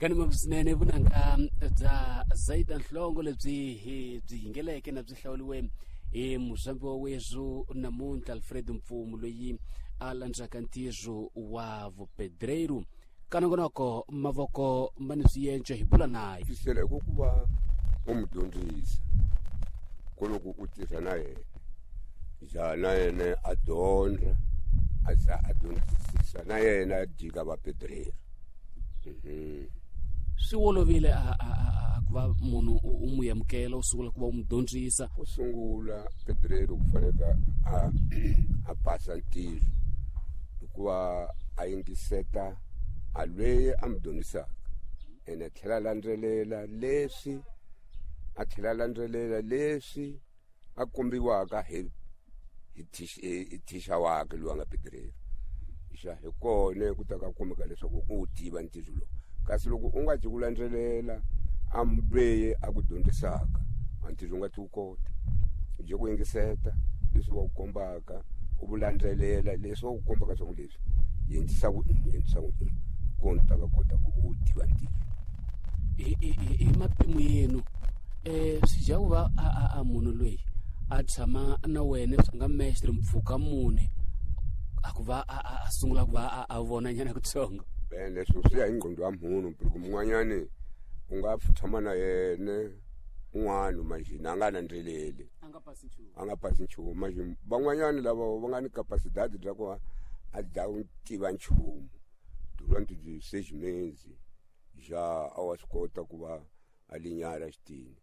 Kanima swinene vunanga bya Zaida Nhlongo lebyi hi byi yingeleke na byi hlawuriwe hi muzambi wa wethu namuntlha Alfred Mpfumo loyi a landzaka ntirho wa vupedreiro. Kanongonoko mavoko ma ni swiyenco hi bula naye. Tisela hi ku va u n'wi dyondzisa ku loko u tirha na yena ja na yena a dyondza a za a dyondzisisa na yena a jika va pedreiro. Swi olovile a ku va munhu u n'wi amukela u sungula ku va u n'wi dyondzisa. Ku sungula pedreiro ku fanele a pasa ntirho hikuva a yingiseta a lweyi a n'wi dyondzisaka ene a tlhela a landzelela leswi a tlhela a landzelela leswi a kombiwaka hi thisha wakhe loyi a nga pedreiro. Xa hi kona ku ta ka kumeka leswaku u tiva ntirho lowu, kasi loko u nga ci ku landzelela a lweyi a ku dyondzisaka a ntirho u nga ti wu kota. U je ku yingiseta leswi va ku kombaka, u vu landzelela leswi va ku kombaka swa ku leswi endlisa ku endlisa ku kona u ta ka kota ku u tiva ntirho. Hi mapimo yenu swi dya ku va a munhu loyi a tshama na wena swi nga mestre mpfhuka mune a ku va a sungula ku va a vona nyana kutsongo. Ene leswi swi ya hi ngqondo ya munhu, porque mun'wanyani u nga tshama na yena un'wana manjheni a nga landzeleli, a nga pasi nchumu, a nga pasi nchumu. Manjheni van'wanyani lava va nga ni capacidade bya ku a dya ku tiva nchumu durante de 6 meses ja a wa swi kota ku va a linyara xitini.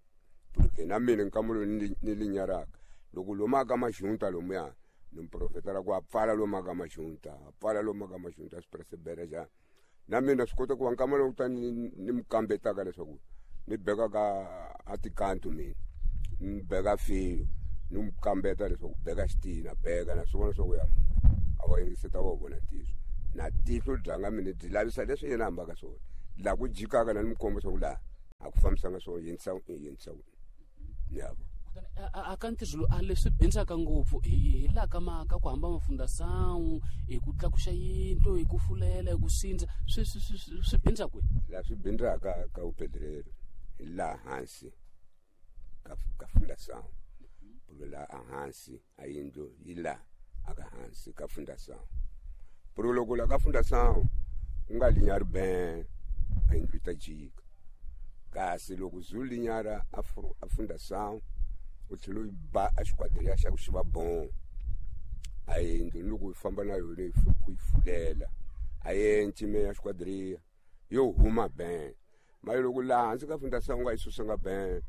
Porque na mina nkama lowu ni linyaraka loko lomu aka maxunta lomuya ni muprofeta la ku a pfala lomu aka maxunta, a pfala lomu aka maxunta swi persevera ja. Na mina swi kota ku va nkama lowu ta ni mi kambetaka leswaku ni beka ka a tikantu mina ni beka fiyo ni mi kambeta leswaku beka xitina beka na swi vona swa ku ya a wa yingiseta wa vona tihlo na tihlo dyanga mina byi lavisa leswi yena hambaka swona laha ku jikaka na ni mi komba swa ku laha a ku fambisanga swona yinisa yinisa yabo. A ka ntirho lowu a leswi bindzaka ngopfu hi laha ka maka ku hamba mafundasawu hi ku tlakuxa yindlu hi ku fulela hi ku sindza swi bindza kwihi? Laha swi bindzaka ka vupedrero hi laha hansi ka fundasawu, ku laha hansi a yindlu yi laha aka hansi ka fundasawu. Puro loko la ka fundasawu u nga linyari ben a yindlu yi ta jika, kasi loko zu linyara a fundasawu u tlhela u yi ba a xikwateliya xa ku xi va bon a yindlu ni loko u famba na yona yi u yi fulela a yenci me ya xikwateliya yo huma ben. Mara loko laha hansi ka fundasawu u nga yi susanga ben,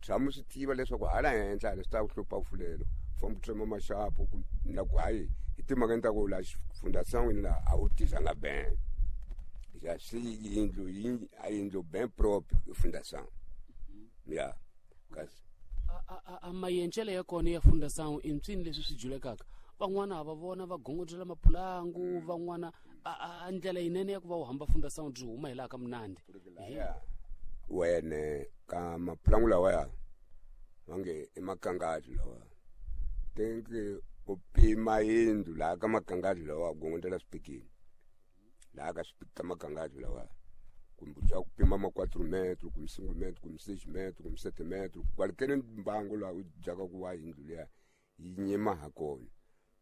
tshama u swi tiva leswaku hala henhla hala swi ta ku hlupha ku fulela, u famba u tsema maxapu ku na ku hayi hi timhakeni ta ku laha xifundasangwini laha a wu tirhanga ben. Ya swi yindlu yi a yindlu ben propre hi fundasangu. Ya kasi a mayencele ya kona ya fundasangu i mpsini leswi swi julekaka, van'wana va vona va gongodzela mapulangu, van'wana a ndlela yinene ya ku va u hamba fundasangu byi huma hi laha ka munandi. Wene ka mapulangu lawaya va nge i makangadi lawa, tenke u pima yindlu laha ka makangadi lawa gongodzela swipikini laha ka ka makangadi lawa, kumbe u ku pima ma 4 metro kumbe 5 metro kumbe 6 metro kumbe 7 metro, kwalekeni mbangu laha u dyaka ku va yindlu liya yi nyima ha kona,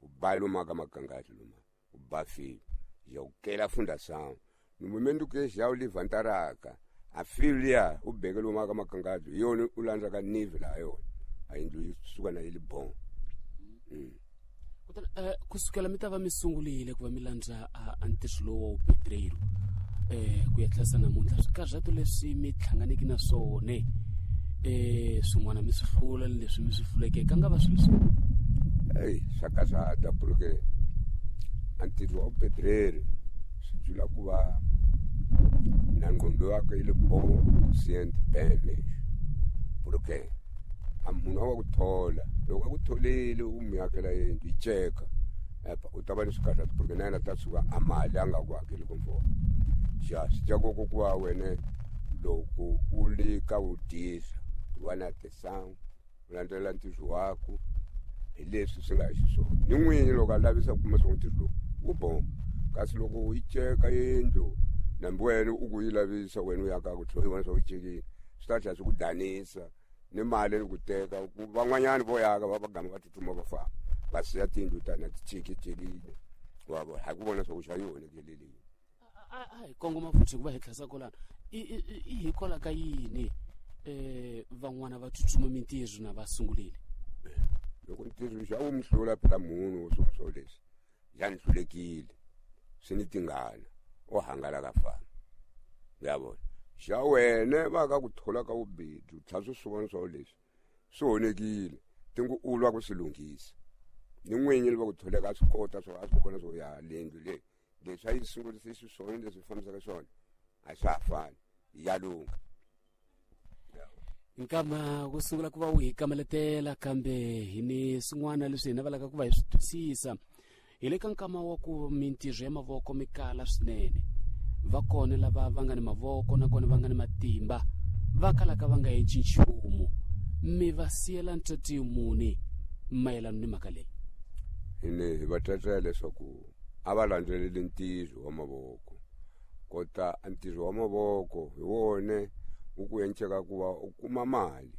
u ba lomu ka makangadi loma u ba fiyo ya u kela fundasangu ni momento ke já u levantaraka a fiyo liya u beke lomu ka makangadi hi yona u landzaka nive laha yona a yindlu yi suka na yi li bon. Kutani kusukela mi ta va mi sungurile ku va mi landza a ntirho lowu wa vupedreiro ku ya tlherisa namuntlha, swikarhato leswi mi hlanganeke na swona swin'wana mi swi hlula ni leswi mi swi hluleke ka nga va swilo swi Ei, swa karhata porque a ntirho wa vupedrero swi dlula ku va na nqondo wakwe yi le bon conscient ben lexi, porque a munhu a wa ku thola loko a ku tholile u n'wi akela yindlu yi ceka epa u ta va ni swikarhati porque na yena ta suka a mali a nga ku hakeli komfort. Ja swi dya ku ku va wena loko u le ka u tisa u va na tisangu u landzelela ntirho waku hi leswi swi nga xiswona ni n'winyi loko a lavisa ku kuma swa ntirho lowu wu bon, kasi loko yi ceka yindlu Nambi wena u ku yi lavisa wena u ya ka ku tlhela i vona swa ku cekile swi ta tlhela swi ku danisa ni mali ni ku teka ku van'wanyani vo yaka va va gama va tsutsuma va famba va siya tindlu tana ti cekecekile wa vona hayi ku vona swa ku xa yi onhekele leyi. A hi kongoma futhi hikuva hi tlhasa kolana i hikwalaho ka yini van'wana va tsutsuma mintirho na va sungulile? Loko ntirho xa wu mi hlula phela munhu wo swo swo leswi ya ni hlulekile swi ni tingana o hangalaka fana ya vona xa wena va ka ku thola ka vubedzi u tlhela swi swi vona swa leswi swi onhekile ti ngo u lwa ku swi lunghisa ni n'winyi va ku tholeka a swi kota swo a swi vona swo ya lendlu leyi leswi a yi sungurise xiswona leswi fambisaka swona a swa ha fani ya lungha. Nkama ku sungula ku va wu hi kameletela kambe hi ni swin'wana leswi hi navelaka ku va hi swi twisisa hi le ka nkama wa ku mintirho ya mavoko mi kala swinene va kona lava va nga ni mavoko nakona va nga ni matimba va kalaka va nga endli nchumu mi va siyela ntati muni mayelana ni mhaka leyi? Hi ne hi va tlatlela leswaku a va landzeleli ntirho wa mavoko kota ntirho wa mavoko hi wone wu ku enceka ku va u kuma mali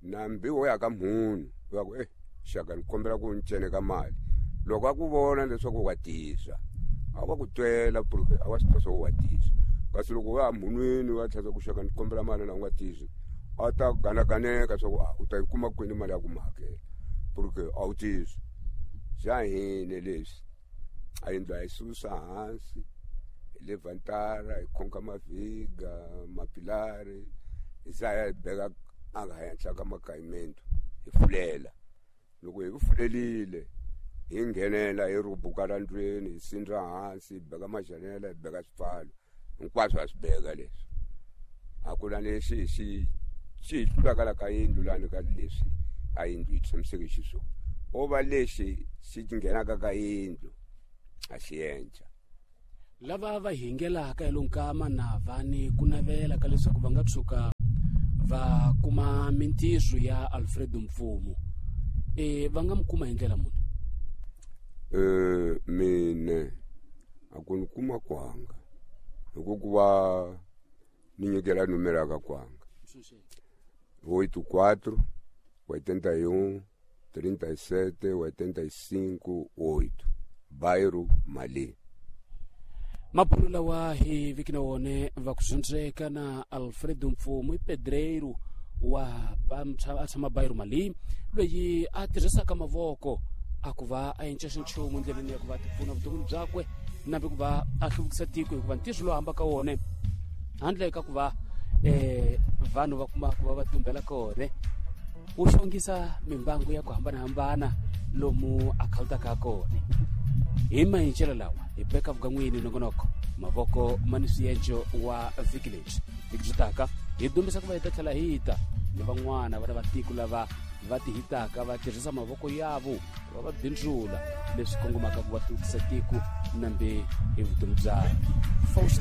nambi wo ya ka munhu u ya ku xaka ni kombela ku ni ceneka mali loko a ku vona leswaku wa tisa a va ku twela porque a wa swi tiva swa ku wa tisa kasi loko wa ya munhwini wa tlhela ku xaka ni kombela mali na u nga tisi a ta ganaganeka swa ku u ta yi kuma kwini mali ya ku mi hakela porque a wu tisi. Xa hina leswi a yindlu a yi susa hansi hi le vantara hi khonka mavhiga mapilari hi za ya hi beka a nga henhla ka makayimento hi fulela loko hi fulelile hi nghenela hi rhubuka la ndlwini hi sindza hansi hi beka majanela hi beka swipfalo hinkwaswo a swi beka leswi a ku na lexi hi xi xi hi hlulaka la ka yindlu lani ka leswi a yindlu yi tshamiseke xiswona o va lexi xi nghenaka ka yindlu a xi endla. Lava va hingelaka hi lonkama na va ni ku navela ka leswaku va nga tshuka va kuma mintirho ya Alfredo Mfumo va nga mi kuma hi ndlela muni? Mine a ku ni kuma kwanga hi ku va ni nyikela numero ya ka kwanga 84 81 37 85 8 bairro Mali. Mabulo lawa hi viki na wone va ku dyondzeka na Alfredo Mfumo i pedreiro wa a tshama bairro Mali loyi a tirhisaka mavoko a ku va a enca xinchumu endleleni ya ku va tipfuna vuton'wini byakwe nambi ku va a hluvukisa tiko hikuva ntirho lowu hambaka wone handle ka ku va vanhu va kuma ku va va tumbela kona wu xongisa mimbangu ya ku hambanahambana lomu a khawutaka kona. Hi mahincelo lawa hi beka vukan'wini nongonoko mavoko ma ni swienco wa vhiki lebyi vhiki byi taka hi dumbisa ku va hi ta tlhela hi ta ni van'wana vana va tiko lava va ti hitaka va tirhisa mavoko yavo va va bindzula leswi kongomaka ku va hluvukisa tiko nambe hi vutomi bya.